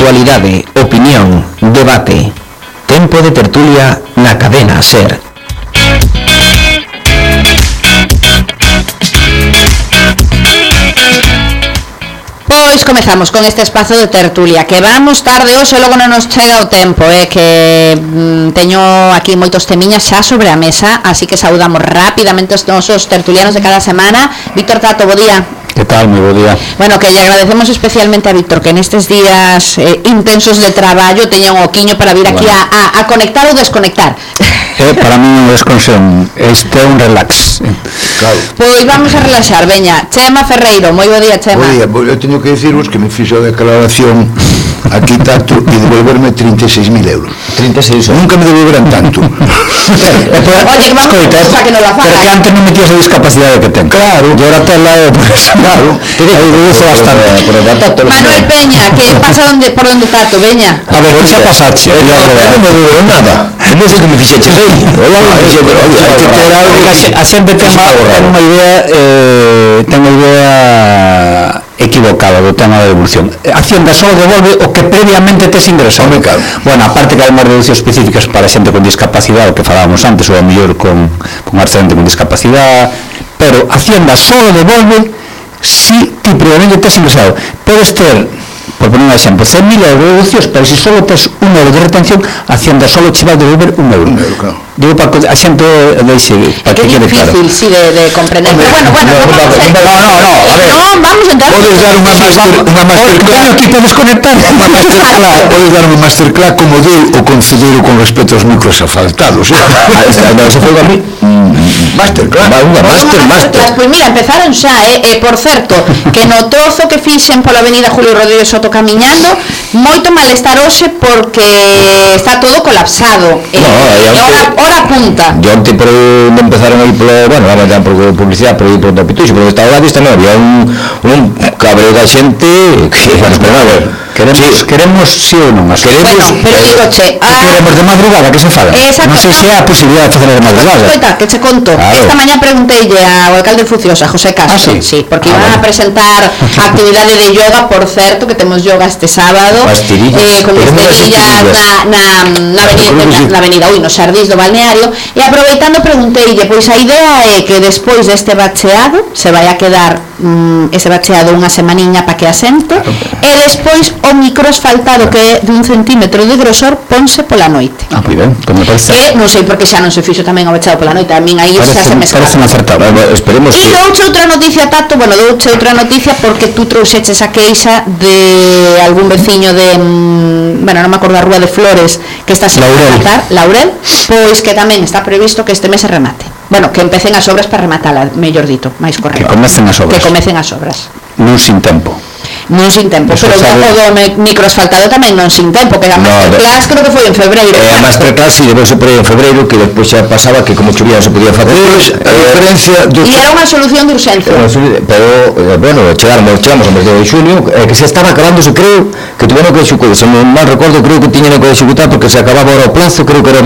Actualidade, opinión, debate. Tempo de tertulia na cadena SER. Pois comezamos con este espazo de tertulia, que vamos tarde hoxe, logo non nos chega o tempo, que teño aquí moitos temiñas xa sobre a mesa, así que saudamos rapidamente os nosos tertulianos de cada semana. Víctor Tato, bo día. Que tal? Moi bo día. Bueno, que lle agradecemos especialmente a Víctor que nestes días intensos de traballo teña un oquiño para vir aquí a conectar ou desconectar. Para mí non é desconexión, este é un relax. Claro. Pois vamos a relaxar, veña. Chema Ferreiro, moi bo día, Chema. Bo día, eu teño que dicirvos que me fixo a declaración aquí Tato e devolverme 36.000 euros. 36 Nunca me devolveran tanto. Oye, que vamos a que nos la faga. Pero que antes non metías a discapacidade que ten. Claro. E ahora ten la claro. Aí reduce bastante. Manuel Peña, que pasa por onde Tato, veña. A ver, que xa pasache? Non me devolveron nada. Non sei que me fixeches aí. A xente ten unha idea equivocada do tema da devolución. Hacienda só devolve o que previamente tes ingresado. Bueno, aparte que hai máis reduccións específicas para xente con discapacidade, o que falábamos antes, ou a mellor con xente con discapacidade, pero Hacienda só devolve si ti previamente tes ingresado. Podes ter, por poner un exemplo, 100.000 euros de deduccións, pero se só tes 1 euro de retención, Hacienda só te vai devolver 1 euro. Claro. Digo para que a xente deixe para que quede claro. É difícil, sí, de comprender. Pero bueno, vamos a entrar. Podes dar unha masterclass. Aquí podes conectar. Podes dar unha masterclass como deu o concelleiro con respecto aos micros asfaltados. Se foi a mí. Masterclass. Master. Pois mira, empezaron xa, por certo, que no trozo que fixen pola avenida Julio Rodríguez Soto camiñando, moito malestar hoxe porque está todo colapsado. Hora punta. Yo antes por empezaron aí polo, bueno, vamos ya por publicidade, por aí por Pituxo, pero estaba la vista, non había un cabreo da xente que, bueno, pero a ver, queremos sí ou non? Bueno, pero digo, che, queremos de madrugada, que se fala? Exacto. Non sei se há a posibilidade de facer de madrugada. Escoita, que che conto. Claro. Esta mañá pregunteille ao alcalde Fuciosa, José Castro, sí, porque iban a presentar a actividade de yoga, por certo, que temos yoga este sábado, con estirillas na avenida, no Xardís do Balneario, e aproveitando pregunteille, pois a idea é que despois deste bacheado se vai a quedar ese bacheado unha semaniña para que asente, e despois o microasfaltado que é de 1 centímetro de grosor ponse pola noite. Moi ben, como parece. Que non sei porque xa non se fixo tamén o bacheado pola noite, a min aí xa se me parece acertado. Esperemos que. E douche outra noticia, Tato, douche outra noticia porque tú trouxeches a queixa de algún veciño de non me acordo a Rúa de Flores que está sin rematar, Laurel, pois que tamén está previsto que este mes se remate. Bueno, que empecen as obras para rematala, mellor dito, máis correcto. Que comecen as obras. Non sin tempo. Non sin tempo, pero o do microasfaltado tamén non sin tempo, que a masterclass creo que foi en febreiro. A masterclass e depois se foi en febreiro, que depois xa pasaba que como chovía se podía facer. A diferencia E era unha solución de urxencia. Pero, bueno, chegamos ao mes de xunio, que se estaba acabándose, creo, que tuveron que executar, se non mal recordo, creo que tiñan que executar porque se acababa ahora o plazo, creo que era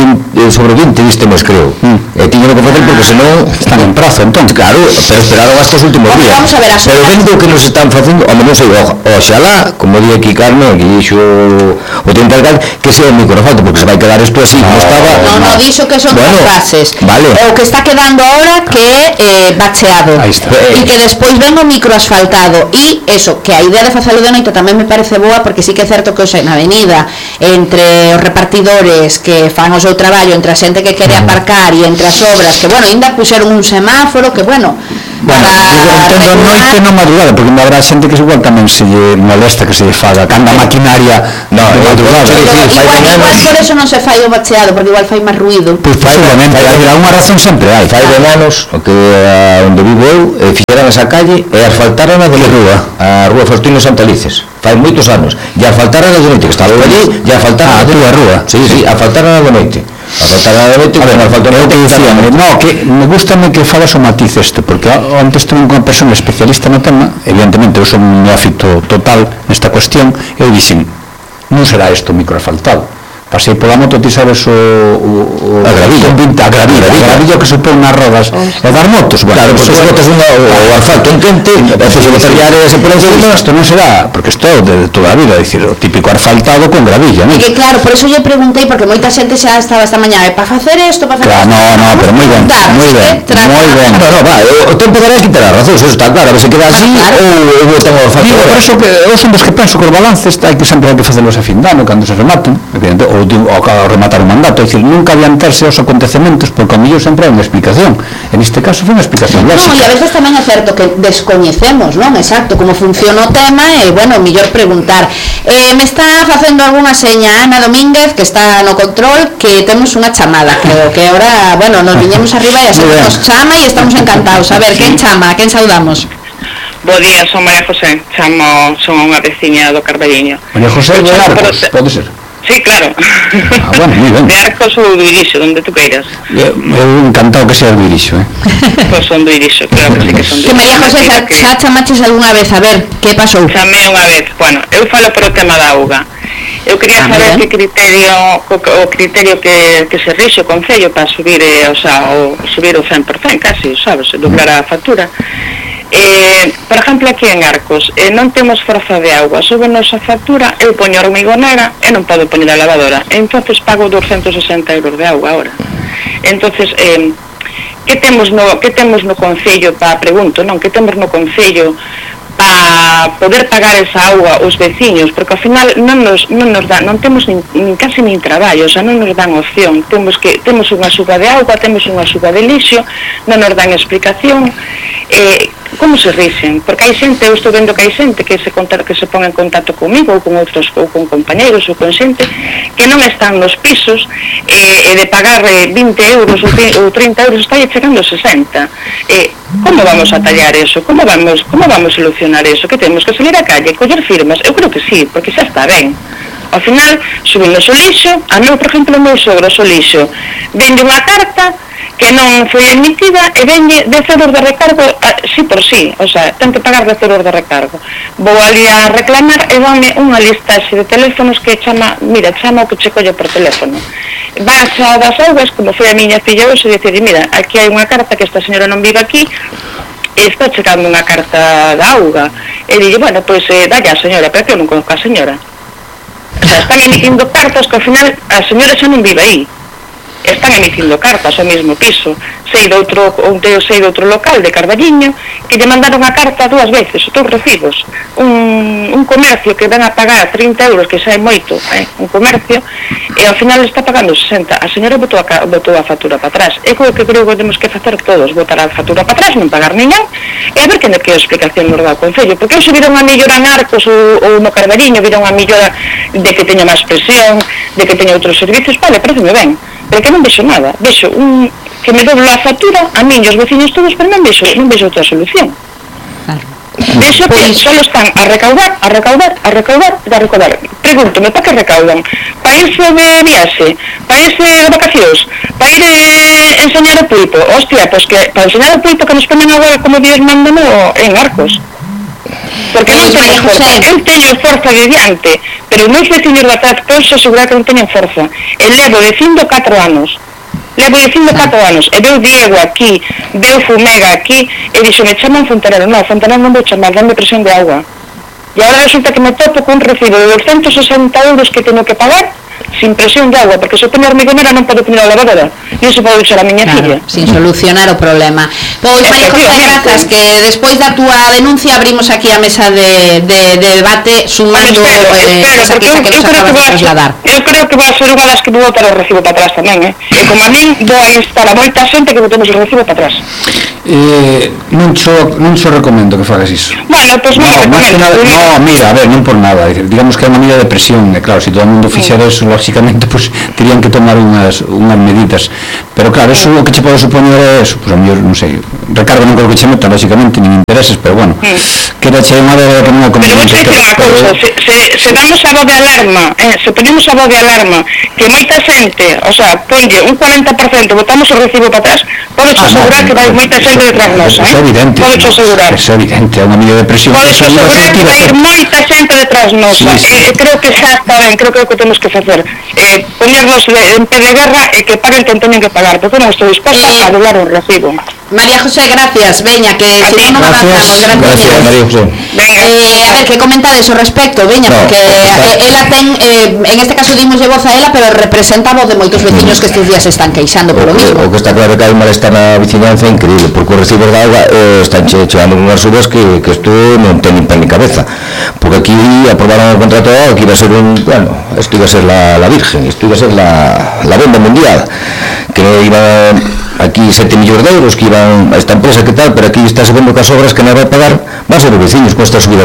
sobre 20 deste mes, creo. E tiñan que facer porque senón están en prazo, entón. Claro, pero esperaron hasta os últimos días. Vamos a ver, pero vendo que nos están facendo, ao menos oxalá, como di aquí Carmen, que dixo o tempo alcalde, que sea un microasfalto, porque se vai quedar isto así, como estaba. Non, dixo que son as fases. Vale. O que está quedando ahora que é bacheado. E que despois ven o microasfaltado. E eso, que a idea de facelo de noite tamén me parece boa, porque sí que é certo que hoxe na avenida, entre os repartidores que fan o seu traballo, entre a xente que quere aparcar e entre as obras, que, bueno, ainda puxeron un semáforo, que, bueno, entendo noite non madrugada, porque ainda habrá xente que igual tamén se lle molesta que se lle faga cando a maquinaria de madrugada. Igual por eso non se fai o bacheado, porque igual fai máis ruido. Pois posiblemente, alguna razón sempre hai. Fai de anos, o que onde vivo eu, fixeran esa calle e asfaltaran a Rúa Faustino Santalices. Fai moitos anos. E asfaltaran a de noite, que estaba allí, e asfaltaran a rúa. Sí, asfaltaran a de noite. Que me gustame que falas o matiz este, porque antes tenho unha persona especialista no tema, evidentemente eu son un neófito total nesta cuestión, e eu dixen, non será isto microasfaltado, pasei pola moto, ti sabes a gravilla que supón nas rodas e das motos, claro, porque se botas o asfalto en quente e se botas áreas por encima, isto non será, porque isto é de toda a vida, é dicir, o típico asfaltado con gravilla, non? E claro, por eso lle preguntei, porque moita xente xa estaba esta mañá, para facer isto, para facer isto. No, pero moi ben, moi ben. O tempo dará quitar as razóns, eso está claro, a ver se queda así ou botan o asfalto. Por eso que eu son dos que penso que os balances sempre hai que facelos a fin de ano, cando se rematen, evidente, ou ao rematar o mandato, é dicir, nunca adiantarse aos acontecementos, porque ao mellor sempre hai unha explicación. En este caso foi unha explicación lógica. Non, e a veces tamén é certo que descoñecemos, non? Exacto, como funciona o tema, e, bueno, mellor preguntar. Me está facendo algunha seña Ana Domínguez, que está no control, que temos unha chamada, creo que ahora, bueno, nos viñemos arriba e así nos chama e estamos encantados. A ver, quen chama? Quen saudamos? Bo día, son María José, son unha veciña do Carballiño. María José de Arcos, pode ser? Sí, claro. Bueno, moi ben. De Arcos ou do Irixo, donde tú queiras. Eu encantado que sea do Irixo, Pois son do Irixo, claro que sí que son do Irixo. Que María José, xa chamaches algunha vez, a ver, que pasou? Chamei unha vez, bueno, eu falo por o tema da auga. Eu quería saber que o criterio que se rixe o Concello para subir, subir o 100% casi, sabes, doblar a factura. Por exemplo, aquí en Arcos non temos forza de auga, súbenos a factura, eu poño a hormigonera e non podo poñer a lavadora, entonces pago 260 euros de auga ahora. Entonces, que temos no Concello, pregunto, non, que temos no Concello para poder pagar esa auga os veciños, porque ao final non temos casi nin traballo, o sea, non nos dan opción, temos unha suba de auga, temos unha suba de lixo, non nos dan explicación. Como se rixen? Porque hai xente, eu estou vendo que hai xente que se pon en contacto comigo ou con outros, ou con compañeros ou con xente que non están nos pisos e de pagar 20 euros ou 30 euros está chegando 60. Como vamos a tallar eso? Como vamos solucionar eso? Que temos que salir á calle, coller firmas? Eu creo que sí, porque xa está ben. Ao final, subimos o lixo, por exemplo, o meu sogro o lixo, vende unha carta que non foi emitida e vende 10 euros de recargo sí por sí, o sea, ten que pagar 10 euros de recargo. Vou ali a reclamar e dame unha listaxe de teléfonos que chama o que che colle por teléfono. Vas a das augas, como foi a miña filla hoxe, e dicir, mira, aquí hai unha carta que esta señora non vive aquí, e está chegando unha carta da auga. E dille, bueno, pois dalle a señora, pero que eu non conozco a señora. O sea, están emitindo cartas que ao final a señora xa non vive aí. Están emitindo cartas ao mesmo piso. Sei de outro local de Carballiño que lle mandaron a carta 2 veces, os 2 recibos. Un comercio que ven a pagar 30 euros, que xa é moito, un comercio, e ao final está pagando 60. A señora botou a factura para atrás. É o que creo que temos que facer todos, botar a factura para atrás, non pagar niñan, e a ver que explicación nos dá o Concello, porque hoxe viron a mellora en Arcos ou no Carballiño, viron a mellora de que teña máis presión, de que teña outros servicios, vale, pareceme ben, pero que non vexo nada, vexo que me doblo a factura, a min e os veciños todos, pero non vexo outra solución. Vexo que só están a recaudar. Pregúntome, para que recaudan? Para irse de viaxe? Para irse de vacacións? Para ir enseñar o pulpo? Hostia, pois que para enseñar o pulpo que nos ponen agora como Dios manda en Arcos. Porque non teño forza, eu teño forza de diante, pero os meus veciños de atrás posso asegurar que non teñen forza. E levo dicindo 4 anos, e veu Diego aquí, veu Fumega aquí, e dixo, me chaman Fontanero, non vou chamar, dame presión de agua. E agora resulta que me topo con un recibo de 260 euros que teño que pagar sin presión de agua, porque se pone a hormigonera non podo poner a lavadora, non se pode usar a miña filla. Sin solucionar o problema. Pois, María José, grazas, que despois da túa denuncia abrimos aquí a mesa de debate sumando esa queixa que nos acabas de trasladar. Eu creo que vai ser unha das que vou botar o recibo para atrás tamén, e como a min vou a instar a moita xente que botemos o recibo para atrás. Non xo recomendo que fagas iso. Bueno, pois non recomendo. No, mira, a ver, non por nada, digamos que é unha medida de presión, e claro, se todo o mundo fixera eso, lógicamente, pues, terían que tomar unhas medidas, pero claro, eso o que che pode supoñer é eso, pues a mellor, non sei, recargo non creo que che meta, lógicamente, nin intereses, pero bueno, que era che unha débeda que non é conveniente. Pero vos dicir unha cousa, se damos a voz de alarma, se ponemos a voz de alarma, que moita xente, o sea, ponlle un 40%, botamos o recibo para atrás, podes asegurar que vai moita xente detrás nosa, podes asegurar. É evidente, é unha medida de presión. Podes asegurar que vai moita xente detrás nosa, creo que xa está ben, creo que é o que temos que facer. ponernos en pé de guerra e que paguen quen teñen que pagar, porque non estou disposta a doblar un recibo. María José, gracias, veña, que si non avanzamos, gracias María José. A ver, que comentades ao respecto, veña, porque ela ten, en este caso dimoslle voz a ela, pero representa a voz de moitos veciños que estes días están queixando polo mismo. O que está claro que hai un malestar na vicinanza increíble, porque os recibos de auga están chegando unhas subas que isto non ten ni pé ni cabeza, porque aquí aprobaron o contrato de auga que iba a ser isto iba a ser la Virgen, isto iba a ser la bomba mundial, que non iba aquí 7 millóns de euros que iban a esta empresa que tal, pero aquí está vendo que as obras que non vai pagar van a ser os veciños con esta subida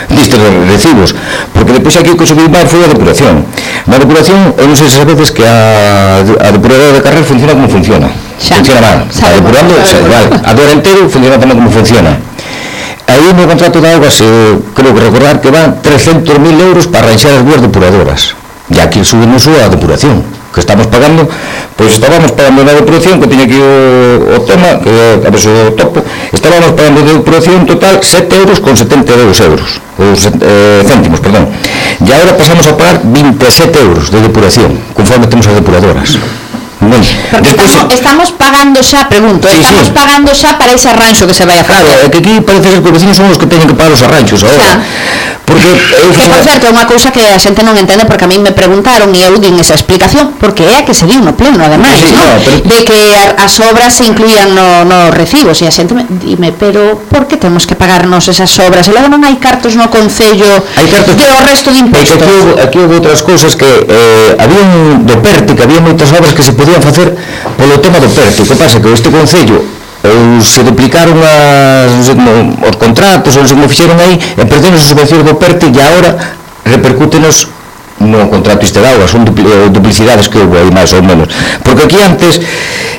destes recibos, porque depois aquí o que subiu máis foi a depuración. Na depuración, eu non sei se sabedes que a depuradora de Carrer funciona como funciona, funciona mal, a depurando igual, a do entero funciona tamén como funciona. Aí no contrato de augas creo que recordar que van 300.000 euros para arranxar as duas depuradoras, e aquí subimos a depuración que estamos pagando, pois estábamos pagando na depuración, que tiña aquí o tema, que a ver se o topo, estábamos pagando de depuración total 7,72 euros, céntimos, perdón, e agora pasamos a pagar 27 euros de depuración, conforme temos as depuradoras. Porque estamos pagando xa, pregunto, estamos pagando xa para ese arranxo que se vai a facer. Claro, é que aquí parece ser que os vecinos son os que teñen que pagar os arranxos agora. Porque que, por certo, é unha cousa que a xente non entende, porque a mí me preguntaron e eu din esa explicación, porque é a que se diu no pleno, ademais, de que as obras se incluían nos recibos, e a xente dime, pero por que temos que pagarnos esas obras? E logo non hai cartos no Concello que o resto de impostos. Aquí houve outras cousas que había do PERTE, que había moitas obras que se podían facer polo tema do PERTE. O que pasa que este Concello se duplicaron os contratos, ou se como fixeron aí, e perderon as subvencións do PERTE, e agora repercútenos no contrato este de auga, son duplicidades que houve aí máis ou menos, porque aquí antes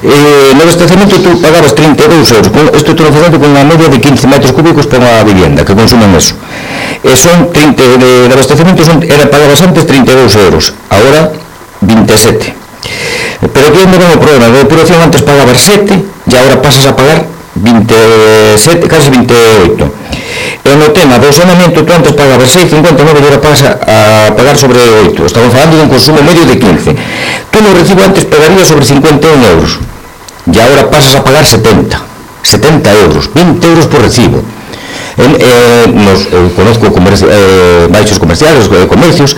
no abastecemento tú pagabas 32 euros, isto estou facendo con unha media de 15 metros cúbicos para unha vivienda que consumen eso, e son 30 de abastecemento, pagabas antes 32 euros, agora 27. Pero aquí onde ven o problema, de depuración antes pagabas 7 e agora pasas a pagar 27, casi 28. E no tema do saneamento, tú antes pagabas 6,59 e agora pasas a pagar sobre 8. Estamos falando de un consumo medio de 15. Tú no recibo antes pagarías sobre 51 euros e agora pasas a pagar 70 euros, 20 euros por recibo. Conozco baixos comerciales, comercios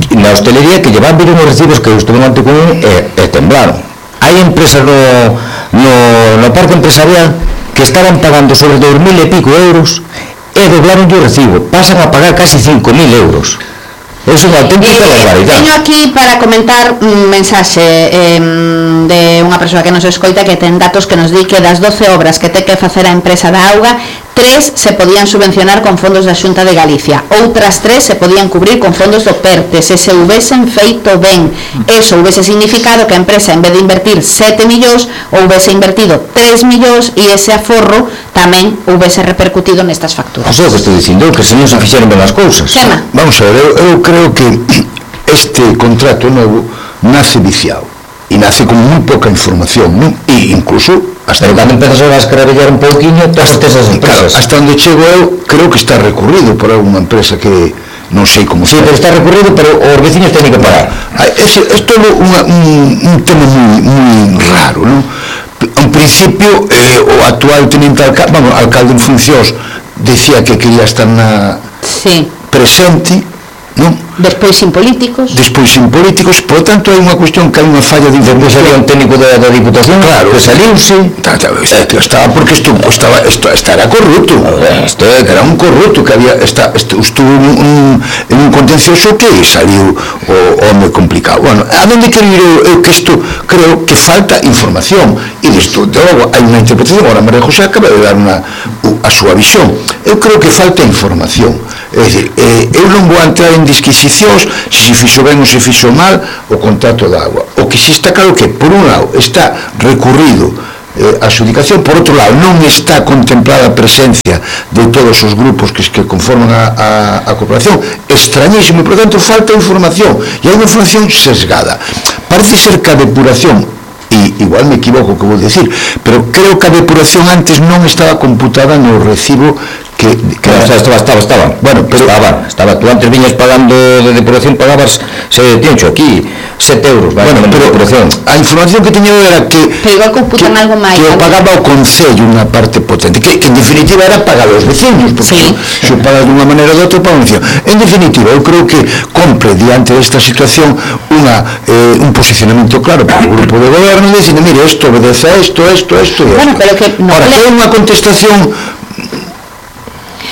na hostelería que llevan vir unos recibos que estuve ante con e temblaron. Hai empresas no parque empresarial que estaban pagando sobre 2.000 e pico euros e doblaron o recibo, pasan a pagar casi 5.000 euros. É unha auténtica barbaridade. Teño aquí para comentar un mensaxe de unha persoa que nos escoita que ten datos que nos di que das 12 obras que ten que facer a empresa da auga, 3 se podían subvencionar con fondos da Xunta de Galicia, outras 3 se podían cubrir con fondos do PERTE, se houvesen feito ben. Eso houvese significado que a empresa, en vez de invertir 7 millóns, houvese invertido 3 millóns e ese aforro tamén houvese repercutido nestas facturas. Eso é o que estou dicindo, que se non se fixeron ben as cousas. Vamos a ver, eu creo que este contrato novo nace viciado e nace con moi pouca información, non? E incluso hasta cando empezas a escravellar un pouquiño todas esas empresas. Hasta onde chego eu, creo que está recurrido por alguna empresa que non sei como sí, pero está recurrido, pero os veciños teñen que pagar. É todo un tema moi raro, non? En principio, o actual tenente alcalde en funcións decía que quería estar presente, non? Despois sin políticos, por tanto hai unha cuestión que hai unha falla de información. Sería un técnico da Diputación, claro, que saliuse estaba porque estaba corrupto, era un corrupto que había estuvo en un contencioso que saliu o home complicado. Bueno, a donde quero ir eu que isto creo que falta información e disto de logo hai unha interpretación. Agora María José acaba de dar a súa visión. Eu creo que falta información, é dicir, eu non vou entrar en disquisicións se fixo ben ou se fixo mal o contrato de agua. O que si está claro que por un lado está recurrido a adxudicación, por outro lado non está contemplada a presencia de todos os grupos que conforman a corporación, extrañísimo, por tanto falta información e hai unha información sesgada. Parece ser que a depuración e igual me equivoco o que vou decir, pero creo que a depuración antes non estaba computada no recibo que estaba. Bueno, pero estaba. Tú antes viñas pagando de depuración, pagabas, tiencho aquí, 7 euros. Bueno, pero a información que teño era que eu pagaba o Concello unha parte potente, que en definitiva era pagar os veciños, porque se o pagas de unha maneira ou de outra, paga un veciño. En definitiva, eu creo que compre diante desta situación un posicionamento claro para o grupo de goberno, dicindo, mire, isto obedece a isto e isto. Bueno, pero que ahora, que é unha contestación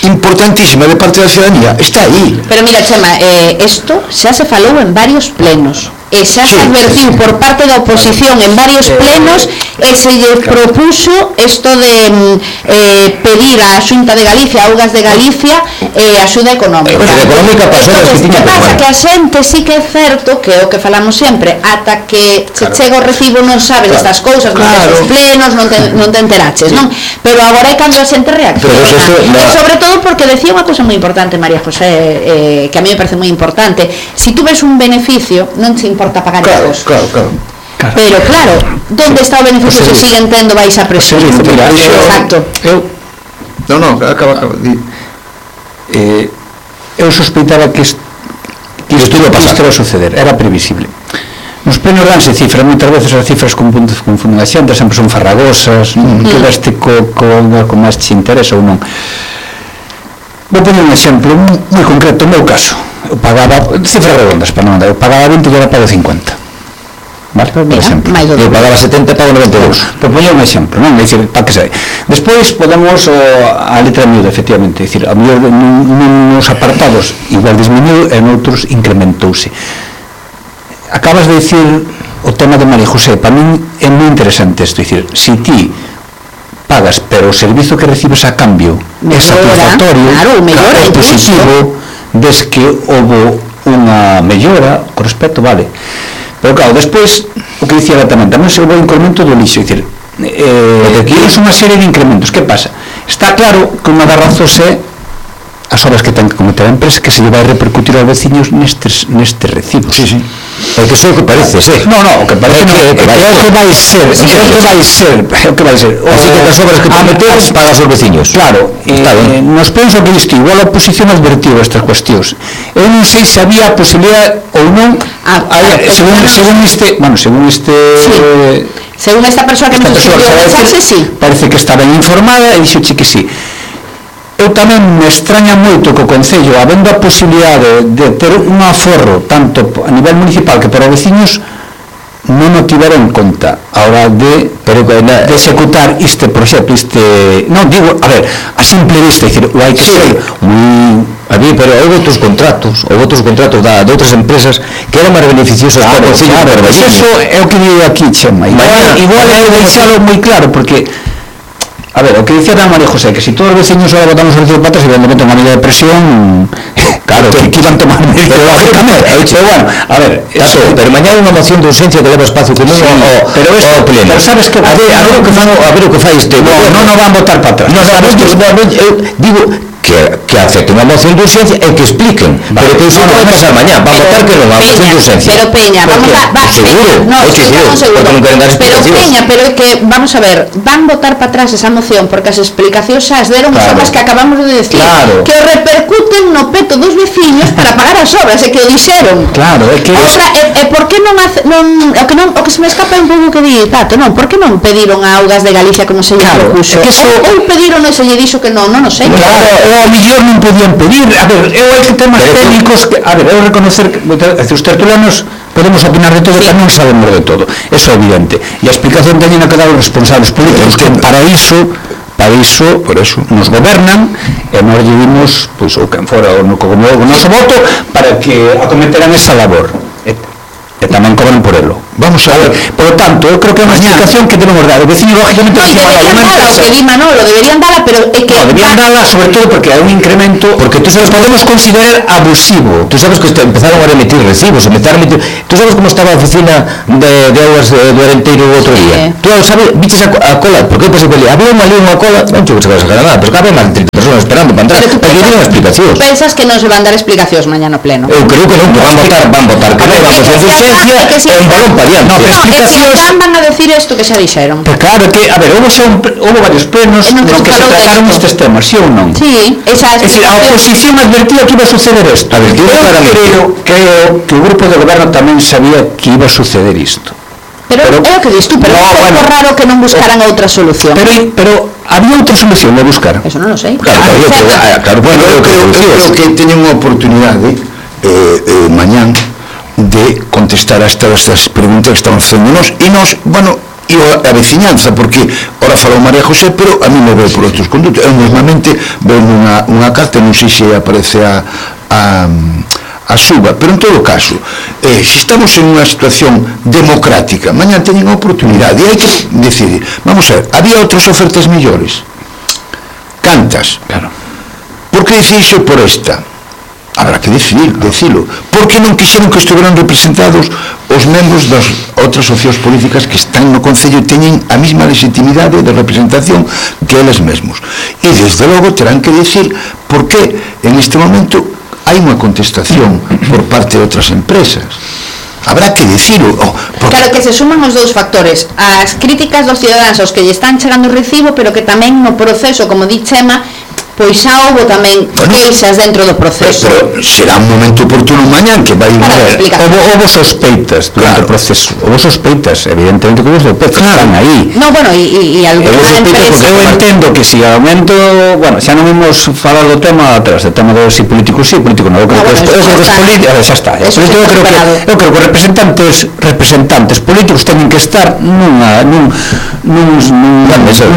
importantísima de parte da ciudadanía, está aí. Pero mira, Chema, isto xa se falou en varios plenos e xa se advertiu por parte da oposición en varios plenos e se lle propuso isto de pedir á Xunta de Galicia, a Augas de Galicia, axuda económica. Que pasa que a xente sí que é certo que o que falamos sempre, ata que se chega o recibo non sabes estas cousas, non tes os plenos, non te enteraches, non? Pero agora é cando a xente reacciona. E sobre todo porque decía unha cousa moi importante María José, que a mí me parece moi importante, si tú ves un beneficio non te importa pagar impostos. Claro. Pero claro, ¿dónde está o beneficio se siguen tendo baixa presión? Exacto. Acaba. Eu sospeitaba que isto iba a suceder, era previsible. Nos plenos danse cifras, moitas veces as cifras confunden a xente, sempre son farragosas, quedaste con máis te interesa ou non. Vou poner un exemplo moi concreto, no meu caso. Eu pagaba, cifras redondas para non andar, eu pagaba 20 e agora pago 50. Vale? Por exemplo. Eu pagaba 70 e pago 92. Por poñer un exemplo, non? É dicir, para que sei. Despois podemos a letra miúda, efectivamente, é dicir, a mellor nos apartados igual disminuiu e noutros incrementouse. Acabas de dicir o tema de María José, para min é moi interesante isto, é dicir, se ti pagas, pero o servizo que recibes a cambio é satisfactorio, é positivo, des que houve unha mellora con respecto, vale. Pero claro, despois, o que dicía tamén se houve un incremento do lixo, é dicir, tienes unha serie de incrementos. Que pasa? Está claro que unha das razóns é as obras que ten que cometer a empresa, que se lle vai repercutir aos veciños nestes recibos. Sí. Porque iso é o que parece, No, o que parece é o que vai ser. Así que as obras que prometes pagas aos veciños. Claro, nos penso que isto, igual a oposición advertiu estas cuestións. Eu non sei se había a posibilidade ou non, según esta persoa que nos escribiu o mensaxe, sí. Parece que está ben informada e dixo que sí. Eu tamén me extraña moito que o Concello, habendo a posibilidade de ter un aforro tanto a nivel municipal que para os veciños, non o tivera en conta a hora de executar este proxecto, non digo, a ver, a simple vista, é dicir, o hai que ser moi... Pero houve outros contratos de outras empresas que eran máis beneficiosos para o Concello. Eso é o que digo aquí, Chema. Igual é deixalo moi claro, porque a ver, o que dicía a María José, que si todos os veciños ahora votamos o recibo para atrás, evidentemente unha medida de presión, claro, que iban tomar medidas, lógicamente. Pero bueno, a ver, pero mañana unha moción de urgencia que leva espacio común ao pleno. Pero sabes que a ver o que fai este. Non van votar para atrás. Eu digo que acepten unha moción de urgencia e que expliquen, pero que iso non vai pasar mañá, van votar que non, a moción de urgencia. Pero Peña, vamos a... Seguro, porque non queren dar explicacións. Pero Peña, pero é que, vamos a ver, van votar para atrás esa moción porque as explicacións xa as deron as obras que acabamos de decir, que o repercuten no peto dos veciños para pagar as obras, e que o dixeron. Claro, é que... Ahora, por que non o que se me escapa un pouco que di Tato, non, por que non pediron a Augas de Galicia como se lle propuso? Ou pediron e se lle dixo que non sei. Claro, a millón non podían pedir, a ver, eu hai temas técnicos que, a ver, eu reconocer que os tertulianos podemos opinar de todo, que non sabemos de todo, eso é evidente, e a explicación teñen que dar os responsables políticos, que para iso por eso nos gobernan e nós lle dimos, pois, ou quen fora o noso voto para que acometeran esa labor e tamén cobran por elo. Vamos a ver, por lo tanto, eu creo que é unha explicación que debemos dar. O veciño, lógicamente, deberían dala, pero é que... deberían dala, sobre todo, porque hai un incremento, porque tú sabes, podemos considerar abusivo. Tú sabes que empezaron a emitir recibos, tú sabes como estaba a oficina de Augas do Arenteiro o outro día. Tú sabes, viches a cola, porque eu pensei que había unha cola, non chego que se vai sacar nada, pero que había máis de 30 personas esperando para entrar, para que dieran explicacións. Pensas que non se van dar explicacións mañá no pleno? Eu creo que non, que van votar que non, vamos a urgencia, e un balón para variante. No, pero explicacións... van a decir isto que xa dixeron. Pero claro que, a ver, houve varios plenos no que se trataron estes temas, sí ou non? Sí, esa é dicir, a oposición advertía que iba a suceder isto. Creo que o grupo de goberno tamén sabía que iba a suceder isto. Pero é o que dis tú, pero é un pouco raro que non buscaran outra solución. Pero había outra solución de buscar. Eso non o sei. Claro, bueno, eu creo que teñen unha oportunidade mañán de contestar a estas preguntas que estamos facendo nos, e nos, bueno, e a veciñanza, porque ora falou María José, pero a mí me veo por outros condutos. Eu normalmente veo unha carta, non sei se aparece a suba, pero en todo caso, se estamos en unha situación democrática, mañá teñen a oportunidade, e hai que decidir. Vamos a ver, había outras ofertas mellores? Cantas? Claro. Por que decidirse por esta? Habrá que decilo. Por que non quixeron que estuveran representados os membros das outras opcións políticas que están no Concello e teñen a mesma legitimidade de representación que eles mesmos? E desde logo terán que decir por que en este momento hai unha contestación por parte de outras empresas. Habrá que decirlo. Claro, que se suman os dous factores, as críticas dos cidadáns aos que lle están chegando o recibo, pero que tamén no proceso, como di Chema, pois xa houbo tamén queixas dentro do proceso. Pero será un momento oportuno mañán que vai ver. Houbo sospeitas durante o proceso. Houbo sospeitas, evidentemente que houbo sospeitas, están aí. No, bueno, e alguna empresa... Eu entendo que si aumento, bueno, xa non imos falar do tema atrás, do tema de si político sí, político non. Eu creo que os políticos, xa está. Eu creo que representantes políticos teñen que estar nun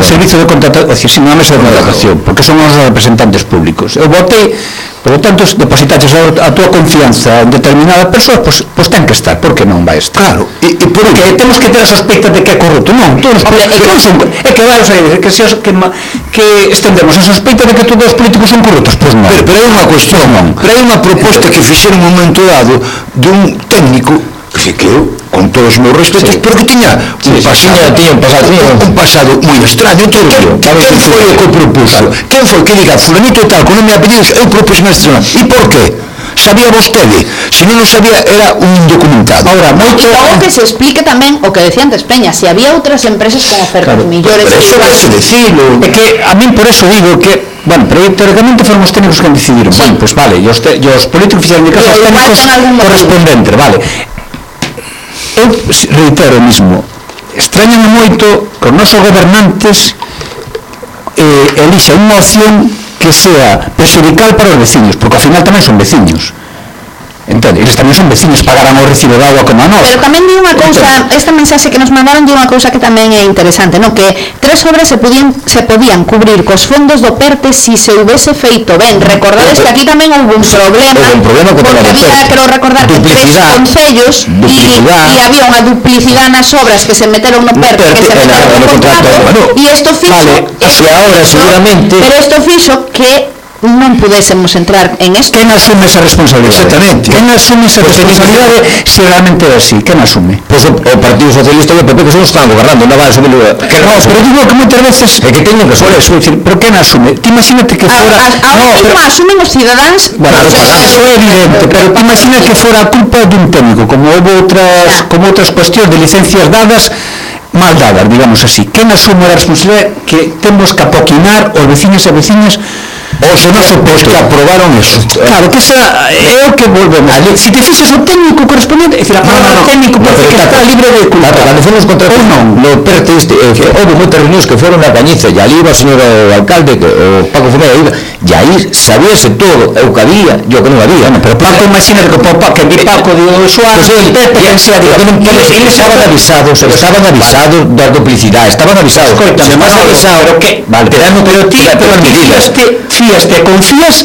servizo de contratación, é dicir, sin unha mesa de contratación, porque son os representantes públicos. Eu votei, por lo tanto, depositaches a tua confianza en determinada persoa, pois ten que estar, porque non vai estar. Claro, e porque temos que ter a sospeita de que é corrupto. Non, todos é que vai a que estendemos a sospeita de que todos os políticos son corruptos, pois non. Pero hai unha cuestión, pero hai unha proposta que fixeron un momento dado dun técnico que eu, con todos os meus respetos, pero que tiña un pasado moi extraño. Quen foi o que propuso? Quen foi que diga, fulanito tal, con nome e apellidos, eu propus este nome? E por qué? Sabía vostede? Se non o sabía, era un indocumentado. Ahora, moito... Logo que se explique tamén o que decía antes Peña, se había outras empresas con ofertas millores... Pero eso vai se decirlo. É que a min por eso digo que, bueno, pero teóricamente foron os técnicos que decidiron. Bueno, pois vale, e os políticos fixeron de caso aos técnicos correspondentes, vale. Eu reitero o mismo, extrañame moito que os nosos gobernantes elixan unha opción que sea perxudical para os veciños, porque ao final tamén son veciños. Entende? Eles tamén son veciños, pagarán o recibo de agua como a nós. Pero tamén di unha cousa, esta mensaxe que nos mandaron di unha cousa que tamén é interesante, non? Que 3 obras se podían cubrir cos fondos do PERTE si se houvese feito ben. Recordades que aquí tamén houve un problema porque había, quero recordar, que 3 concellos e había unha duplicidade nas obras que se meteron no PERTE, que se meteron no contrato, e isto fixo, pero isto fixo que non pudésemos entrar en isto. Quen asume esa responsabilidade? Exactamente. Quen asume esa responsabilidade se realmente é así? Quen asume? Pois o Partido Socialista e o PP que son os que están gobernando, non vai asumir... Que non, pero digo que moitas veces é que teñen que ser eso, pero quen asume? Ti imagínate que fora... Ahora mismo asumen os cidadáns... Bueno, eso é evidente, pero ti imagina que fora a culpa dun técnico, como houve outras cuestións de licencias dadas mal dadas, digamos así. Quen asume a responsabilidade que temos que apoquinar os veciños e veciñas os que aprobaron eso? Claro, que esa é o que volvemos. Se te fixes o técnico correspondente, é dicir, a palabra técnico parece que está libre de culpa. Cando fomos contratos no PERTE houve moitas reunións que foron na Cañiza, e ali iba o señor alcalde, o Paco Fumea, e aí sabíase todo, o que había e o que non había. Pero Paco, imagina que vi Paco de Suárez, eles estaban avisados das duplicidades, estaban avisados. Pero que? Pero ti fíaste, confías,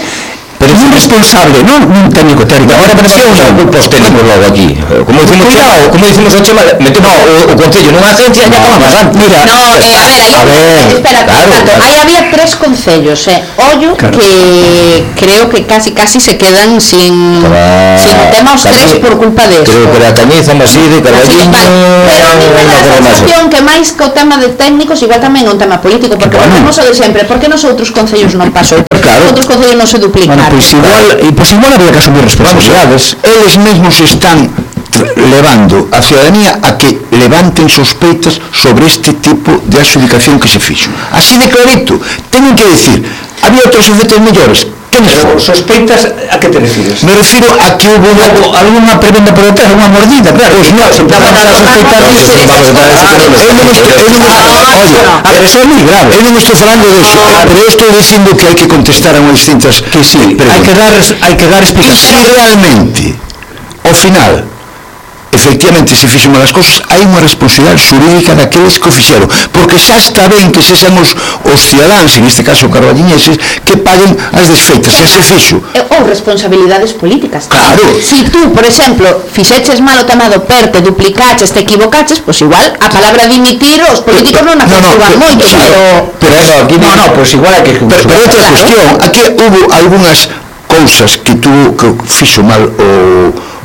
pero é un responsable, non un técnico teórico. Agora parece unha culpa os técnicos logo aquí. Como dicimos o Chema, metemos o Concello nunha agencia e acabamos antes. Mira, a ver, espera, aí había 3 concellos, ollo que creo que casi se quedan sin tema os 3 por culpa de eso. Creo que era Cañiza, Maside, Carballiño... Pero a mí me dá a sensación que máis que o tema de técnicos igual tamén é un tema político, porque volvemos o de sempre, por que nos outros concellos non pasou? Por que outros concellos non se duplicaron? Pois igual había que asumir responsabilidades. Eles mesmos están levando a ciudadanía a que levanten sospeitas sobre este tipo de adxudicación que se fixo. Así de clarito, teñen que decir, había outros efectos mellores. Pero sospeitas, a que te refires? Me refiro a que hubo alguna prebenda por detrás, unha mordida, claro. Pois non, se empezamos a sospeitar disso. Eso é moi grave. Eu non estou falando disso, pero eu estou dicindo que hai que contestar a unhas distintas que sí, hai que dar explicación. E se realmente, ao final, efectivamente se fixen malas cosas, hai unha responsabilidade xurídica daqueles que o fixeron, porque xa está ben que sexan os cidadáns, en este caso carballiñeses, que paguen as desfeitas, xa se fixo. Ou responsabilidades políticas. Claro. Si tú, por exemplo, fixeches mal o tema do PERTE, duplicaches, te equivocaches, pois igual a palabra dimitir os políticos non a conservan moito, pero aquí non, pois igual hai que... Pero outra cuestión, aquí hubo algunhas cousas que fixo mal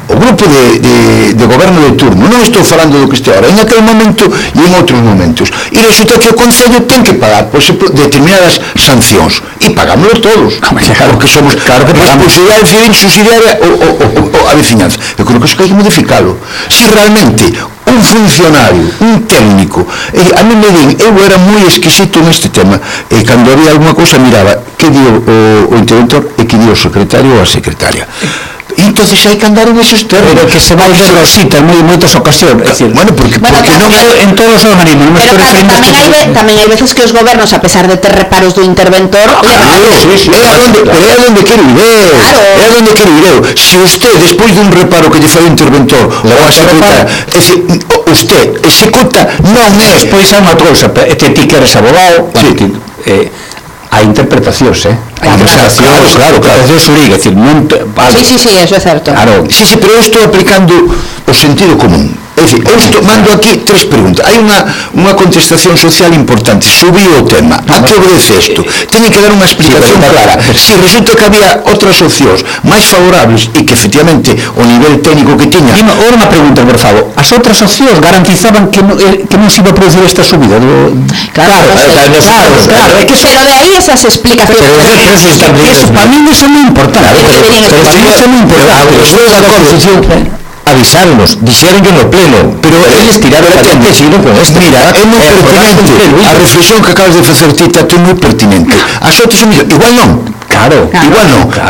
o grupo de goberno de turno, non estou falando do que este ahora, en aquel momento e en outros momentos, e resulta que o Concello ten que pagar, por exemplo, determinadas sancións, e pagámoslo todos, porque somos responsabilidade civil subsidiaria a veciñanza. Eu creo que iso hai que modificalo. Si realmente un funcionario, un técnico, a mí me din, eu era moi exquisito neste tema, e cando había alguna cousa miraba que dio o interventor e que dio o secretario ou a secretaria. E entonces hai que andar en esos terrenos. Pero que se vai de rosita en moitas ocasións. Bueno, porque non é en todos os organismos. Pero claro, tamén hai veces que os gobernos, a pesar de ter reparos do interventor, é a donde quero ir eu. Se usted, despois dun reparo que lle fai o interventor ou a secretaria, é dicir, usted executa, non é. Despois hai unha cousa, ti que eres abogado, hai interpretacións, claro, xurídica, é dicir, non... Sí, eso é certo. Sí, pero eu estou aplicando o sentido común. É dicir, eu mando aquí 3 preguntas. Hai unha contestación social importante. Subiu o tema. A que obedece isto? Teñen que dar unha explicación clara. Si resulta que había outras opcións máis favorables e que efectivamente o nivel técnico que tiña... Ora unha pregunta, por favor. As outras opcións garantizaban que non se iba a producir esta subida? Claro. Pero de aí esas explicacións. Para mí non é moi importante. Avisáronos, dixeron que no pleno, pero eles tiraron a tente, seguiron con esto. Mira, é moi pertinente, a reflexión que acabas de facer ti, Tato, é moi pertinente. As outras son mellor, igual non,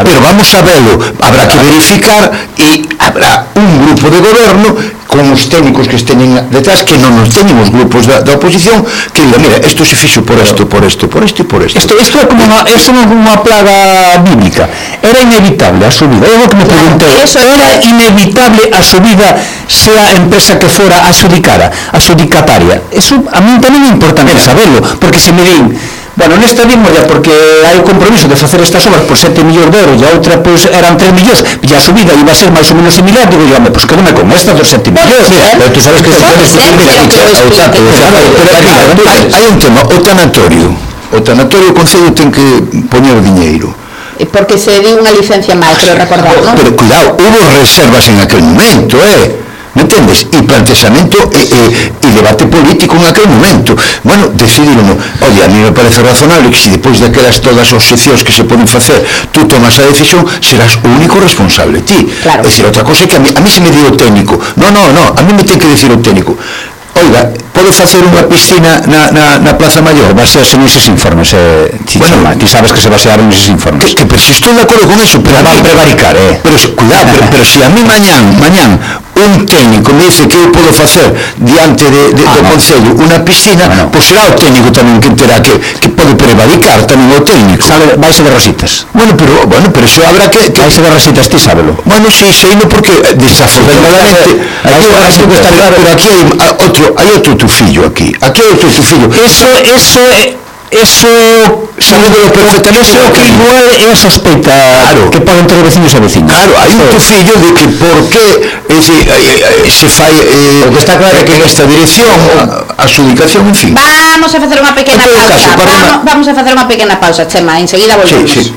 pero vamos a velo, habrá que verificar e habrá un grupo de goberno con os técnicos que esteñen detrás, que non nos teñen os grupos da oposición, que diga, mira, isto se fixo por isto, por isto, por isto e por isto. Isto é como unha plaga bíblica. Era inevitable a subida. Eu que me preguntei, era inevitable a subida sea a empresa que fora adjudicataria. Eso a mí tamén é importante saberlo, porque se me din, bueno, nesta vimos ya porque hai o compromiso de facer estas obras por 7 millóns de euros e a outra pois eran 3 millóns e a subida iba a ser máis ou menos similar, digo yo, pois que non me con esta dos 7 millóns. Pero tú sabes que se pode hai un tema, o tanatorio o Concello ten que poñer diñeiro porque se di unha licencia máis, pero recordar, non? Pero cuidado, hubo reservas en aquel momento, me entendes? E planteamento e debate político en aquel momento. Bueno, decidiron, oye, a mí me parece razonable que se depois daquelas todas as seccións que se poden facer, tú tomas a decisión, serás o único responsable, ti. Claro. É dicir, outra cosa é que a mí se me dio o técnico. No, a mí me ten que decir o técnico. Oiga, pode facer unha piscina na Plaza Maior? Basearse neses informes, ti sabes que se basearon neses informes. Pero si estou de acordo con eso, pero van prevaricar, Pero cuidado, pero si a mí mañán un técnico me dice que eu podo facer diante do Concello unha piscina, pois será o técnico tamén que terá que pode prevaricar tamén o técnico. Vaise de rositas. Bueno, pero eso habrá que... Vaise de rositas, ti sábelo. Bueno, sí, seino porque desafortunadamente... Pero aquí hai outro tufillo aquí. Aquí hai outro tufillo. Eso que igual é a sospeita que poden ter veciños e veciñas. Claro, hai un tufillo de que por que se fai o que está claro que en esta dirección a adjudicación, en fin. Vamos a facer unha pequena pausa. Vamos a facer unha pequena pausa, Chema, enseguida volvemos.